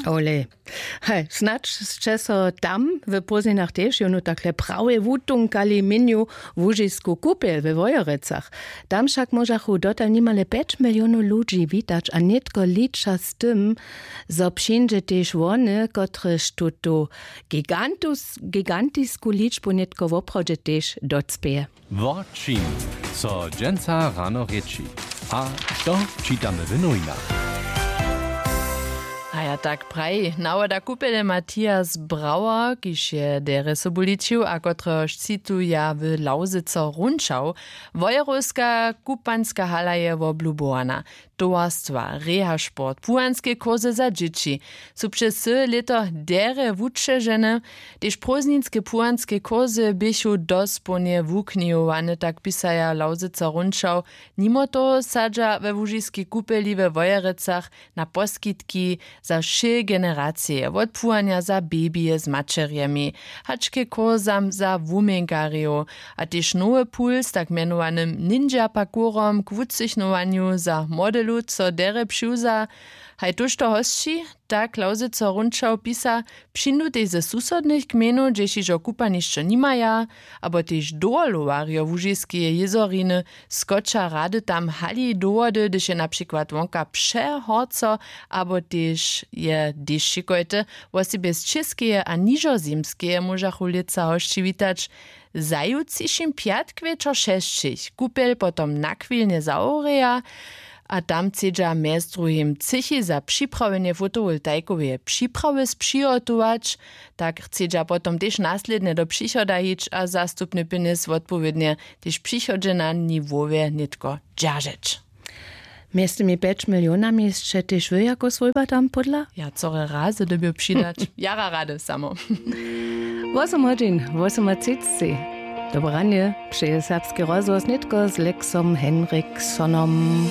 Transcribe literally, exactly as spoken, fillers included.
Ole. Hej, snadź sće so tam w pózdninach tež jónu takle prawje wutunkali, měnju łužisku kupjel we wojerecach. Tam wšak móžachu dotal nimale pjeć milionow ludźi witać a nětko liča z tym, zo přińdźe tež wone, kotrež tutu gigantisku ličbu nětko woprawdźe tež docpěje. Wo čim so dźensa rano rěči a što čitamy w nowinach? A ja tak praji nawoda kupjele Matthias Brauer, kiž je derje sobu ličił a kotrehož cituja w Lauzyco runčał. Wojerowska kupanska hala je woblubowana. Towarstwa, rehasport, puhanske kurse za dźěći su přez cyłe lěto derje wućežene. Tež prózdninske puhanske kursy běchu dospołnje wuknihowane, tak pisaja Lauzyco runčał. Nimo toho sadźa we łužiskej kupeli we wojerecach na poskitki za wšě generacije, wot płanja za bebije z maćerjemi, hač ke kursam za wuměnkarjow, a tež nowy puls tak mjenowanym ninja parkourom k wucychnowanju za młode lud so derje přiwza. Haj tóžto hosći, tak Lauzyco runčał pisa, přińdu tež ze susodnych gmejnow, hdźež hižo kupanišćo nimaja, abo tež dowolowarjo łužiskeje jězoriny skoča rady tam hali do wody, hdyž je na přikład wonka přehorco, abo tež je dešćikojte. Wosebje z čěskeje a nižozemskeje móžachu lětsa hosći witać. Zaju třišim pjatk wječor šesćich kupjel potom na chwilnje zawrěja, a tam chcedźa mjez druhim třěchi za připrawjenje fotowoltajkoweje připrawy spřihotować. Tak chcedźa potom tež naslědnje do přichoda hić a zastupny pjenjez wotpowědnje tež přichodźe na niwowje nětko dźeržeć. Mjez tymi pjeć milionami sće tež wy jako swójba tam pódla? Ja core razy dyrbju přidać. Jara rady samo. Wosym hodźin wosomotřiceći. Dobre ranje přeje serbski rozhłos nětko z lexom henriksonom.